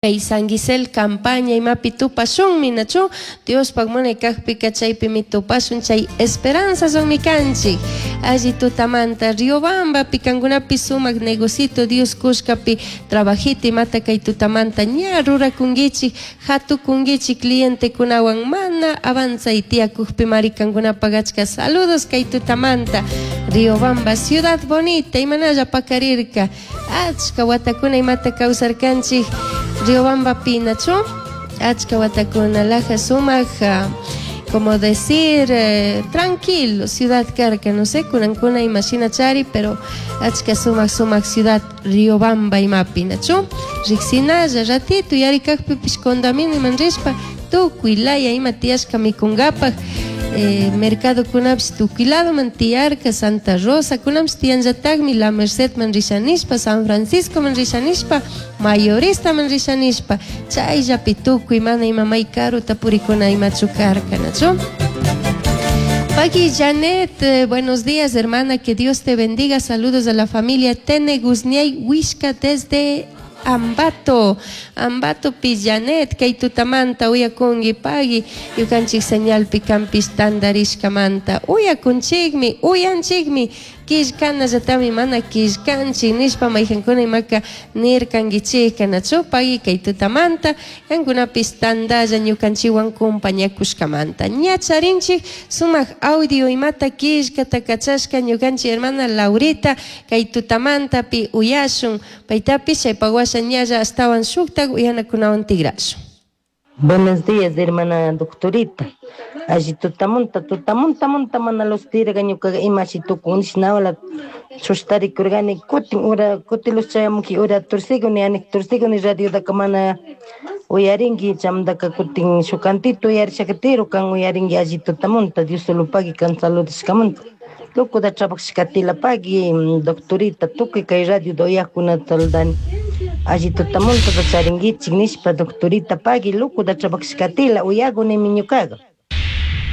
Kay San Gisel campaña imapi tupashunmi, nachu? Diospaj munay kajpika chaypimi tupashun, chay esperanzaswanmi kanchik. Alli tutamanta Riobambapi kankunapi sumak negocito Dios kushkapi trabajito imata kay tutamanta ña rurakunkichik, hatukunkichik clientekunawan mana avanzay tiyakukpimari kankunapaj achka saludos kay tutamanta. Riobamba ciudad bonita imanalla pakarirka. Achka watakuna imata kawsarkanchik Riobambapi, nachu? Achka watakuna laja sumak, como decir, tranquilo ciudad karka, no sé, kunankuna imashina chari, pero achka sumak sumak ciudad Riobamba imapi, nachu? Riksinalla ratito yarikakpipish condominioman rishpa tukuy laya ima tiyashka mikunkapak, mercadokunapish tukuy ladoman tiyarka, Santa Rosa kunapish tiyanllatakmi, La Mercedman rishanishpa, San Franciscoman rishanishpa, Mayoristaman rishanishpa, chayllapi tukuy mana ima may karuta purikuna imachu karka, nachu? Paqui Janet, buenos días hermana, que Dios te bendiga, saludos a la familia Tene Guzniay Huishca desde Ambato, Ambatopi Janet, kay tutamanta uyakunki paqui, ñukanchik señalpi kanpish tantarishkamanta, uyakunchikmi, uyanchikmi, killkanallatami mana killkanchik nishpa mayjankuna imaka nirkankichikka, nachu paqui kay tutamanta, kankunapish tantalla ñukanchikwan compañakushkamanta. Ña charinchik sumak audio imata killkata kachashka ñukanchik hermana Laurita kay tutamantapi uyashun, paytapish chaypak washa ñalla ashtawan shuktak uyanakunawan tigrashun. Buenos días, hermana doctorita. Alli tutamunta, tutamunta, munta mana luz tirga ñukaga imashi tukun nishnawala chushtarikurgani kutin ura kutin luz chayamunki ura tursiguni anik tursiguni radiodaka mana uyarinki chamdaka kutin shukantito uyarishaka tiro kan uyarinki alli tutamunta Dios solo pagui kan saludishkamunta. Loco da trabajashkatila pagui doctorita tukuy kay radio da uyakkunata saludani. Alli tutamunta charinkichik nishpa doctorita pagui loco da trabajashkatila uyakunimi ñukaga.